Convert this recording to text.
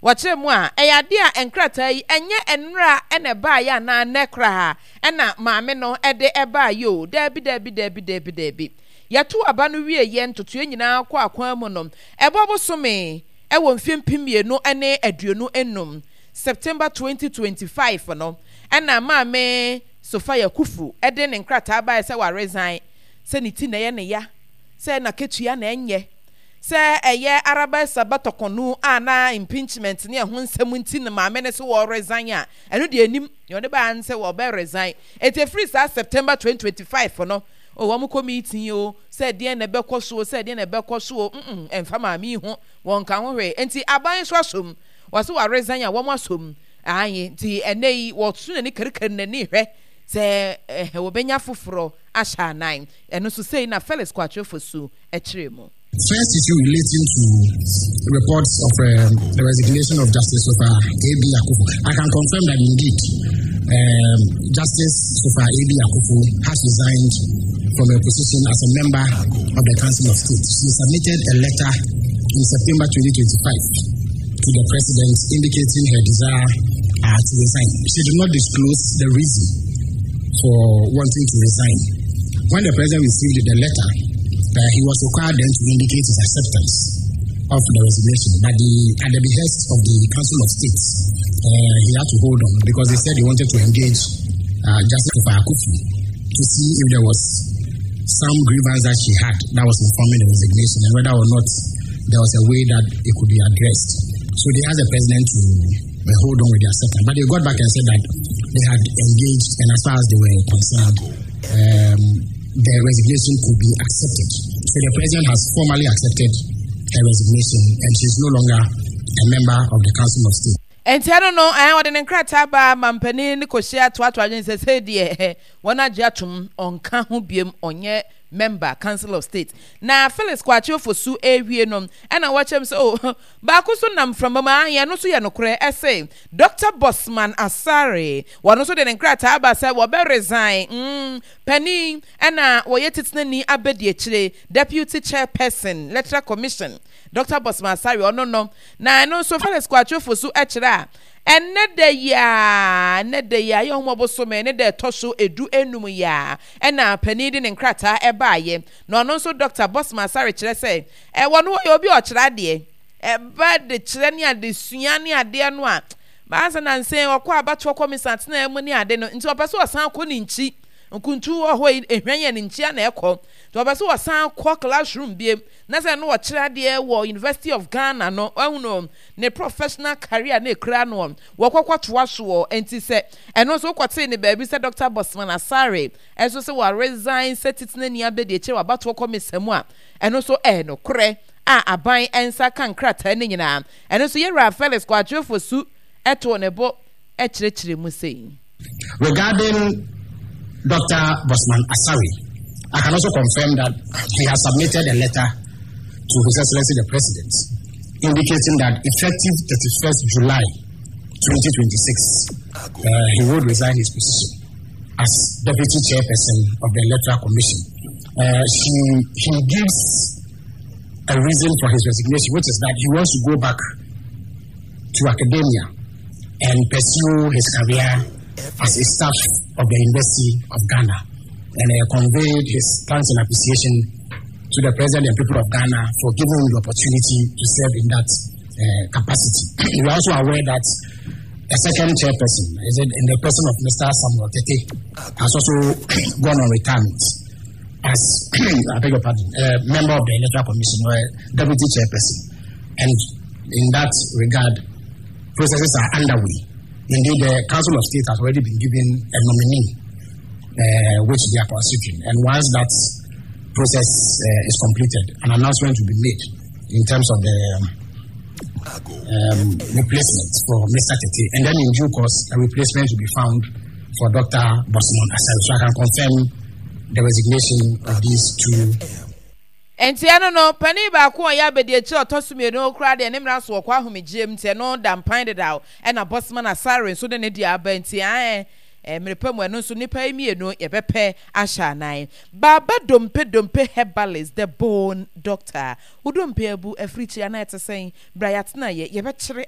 Wɔkyerɛ mu a, ɛyɛ adeɛ a nkrataa yi ɛnyɛ nnora na ɛbaeɛ anaa nnɛ koraa na maame no de baeɛ o, daabi, daabi, daabi, daabi, daabi. Yɛtoo aba no wieeɛ, ntotoeɛ nyinaa kɔɔ akwan mu no, ɛbɔ bosome wɔ mfeɛ 2025, September 2025 no, ɛna maame Sophia Kufu de ne nkrataa baeɛ sɛ waresign, sɛ ne ti na ɛyɛ ne ya, sɛ n'akatua na ɛnyɛ. Sɛ ɛyɛ Araba Sabatɔkɔnu a na impeachment ne ɛho nsɛm nti na maame no se wɔresign a, ɛno deɛ ɛnim. Nea ɔde baeɛ ne sɛ wɔbɛ resign. Enti ɛfiri saa September 2025 no, oh, wɔn kɔ meeting o, sɛ ɛdeɛn na ɛbɛkɔ so o, sɛ ɛdeɛn na ɛbɛkɔ so o, mm, ɛmfa maame yi ho, wɔnka ho hwee. Enti aban nso asom. Wɔse wɔaresign a, wɔn asom. Aane, nti ɛnnɛ yi wɔso n'ani karikari n'ani rehwɛ sɛ eh, wɔbɛnya foforɔ ahyɛ anan. Ɛno nso sei na Felix Kwakye Ofosu kyerɛɛ mu. First issue relating to reports of the resignation of Justice Sofa A.B. Akuffo. I can confirm that indeed um, Justice Sofa A.B. Akuffo has resigned from her position as a member of the Council of State. She submitted a letter in September 2025 to the president indicating her desire uh, to resign. She did not disclose the reason for wanting to resign. When the president received the letter, uh, he was required then to indicate his acceptance of the resignation. But the, at the behest of the Council of States, uh, he had to hold on because they said they wanted to engage uh, Justice Akufu to see if there was some grievance that she had that was informing the resignation and whether or not there was a way that it could be addressed. So they asked the president to uh, hold on with their acceptance. But they got back and said that they had engaged, and as far as they were concerned, um, the resignation could be accepted. So the president has formally accepted her resignation, and she's no longer a member of the Council of State. Nti ɛno no, ɛn wɔde ne nkrataa baa ma mpanin no kɔhyia toatoa adwene sɛ sei deɛ wɔn agye atom ɔnka ho biom ɔnyɛ member Council of State. Na Felix Kwakye Ofosu rewie no ɛna wɔkyerɛ mu sɛ oh baako nso nam mframa mu aane ɛno nso yɛ nokorɛ ɛse Doctor Bosman Asare wɔn nso de ne nkrataa aba sɛ wɔbɛ resign mm panin ɛna wɔyɛ titenani abadiakyire Deputy Chairperson Electoral Commission Dɔkta Bosman Asare, ɔno no, na ɛno nso Felix Kwakye Ofosu kyerɛ a, ɛnnɛ da yi ara, ɛnnɛ da yi ara, yɛ Ɔhomɔ bosome ne da ɛtɔ so edu enum yi ara, ɛna panin de ne nkrataa ɛbaeɛ. Na ɔno nso Dɔkta Bosman Asare kyerɛ sɛ, ɛwɔ no ɔyɛ obi a ɔkyerɛ adeɛ, ɛba de kyerɛ ne adesua ne adeɛ no a, baasa nansa yi ɔkɔ abatoɔ kɔmisa atenaeɛ mu ne ade no, nti ɔpɛ sɛ ɔsan kɔ ne nkyi, nkuntu wɔ hɔ yi, ehwan yɛ ne nkyi a na ɛkɔ, nti ɔpɛ sɛ ɔsan kɔ classroom biem. Na sɛ na ɔkyerɛ adeɛ wɔ University of Ghana no, wahunu ne professional career na ɛkura noɔ, wɔkɔkɔtoa soɔ. Nti sɛ ɛno nso wokɔtee ne baabi sɛ Doctor Bosman Asare nso sɛ wa resign sɛ titenani abɛdiakyire wɔ abatoɔ kɔmisa mu a, ɛno nso ɛyɛ nokorɛ a aban nsa ka nkrataa no nyinaa. Ɛno nso Yɛwura Felix Kwakye Ofosu too ne bo kyerɛkyerɛ mu sei. Regarding Dr. Bosman Asari, I can also confirm that he has submitted a letter to His Excellency the President indicating that effective 31st July 2026, uh, he would resign his position as deputy chairperson of the Electoral Commission. Uh, she, he gives a reason for his resignation, which is that he wants to go back to academia and pursue his career as a staff of the University of Ghana. And uh, conveyed his thanks and appreciation to the president and people of Ghana for giving him the opportunity to serve in that uh, capacity. We are also aware that a second chairperson, is it in the person of Mr. Samuel Tete, has also gone on retirement as, I beg your pardon, a member of the Electoral Commission or a deputy chairperson. And in that regard, processes are underway. Indeed, the Council of State has already been given a nominee, uh, which they are considering. And once that process uh, is completed, an announcement will be made in terms of the um, replacement for Mr. Tete. And then in due course, a replacement will be found for Dr. Bosman Asel. So I can confirm the resignation of these two. Enti ɛno no, panin baako a ɔyɛ abadiakyiri a ɔtɔ so mmienu koraa deɛ ne mmara so ɔkɔ ahomegyeɛ mu nti ɛno da mpan dedaw, ɛna Bosman Asare nso de ne deɛ aba nti ae mmere pa mu ɛno nso nnipa yi mmienu yɛbɛpɛ ahyɛ anan. Baaba Dompe Dompe Herbalist, the bone doctor. Wo dompe abu afirikyiri anaa ɛte sɛn? Bra yɛatena yɛ, yɛbɛkyere.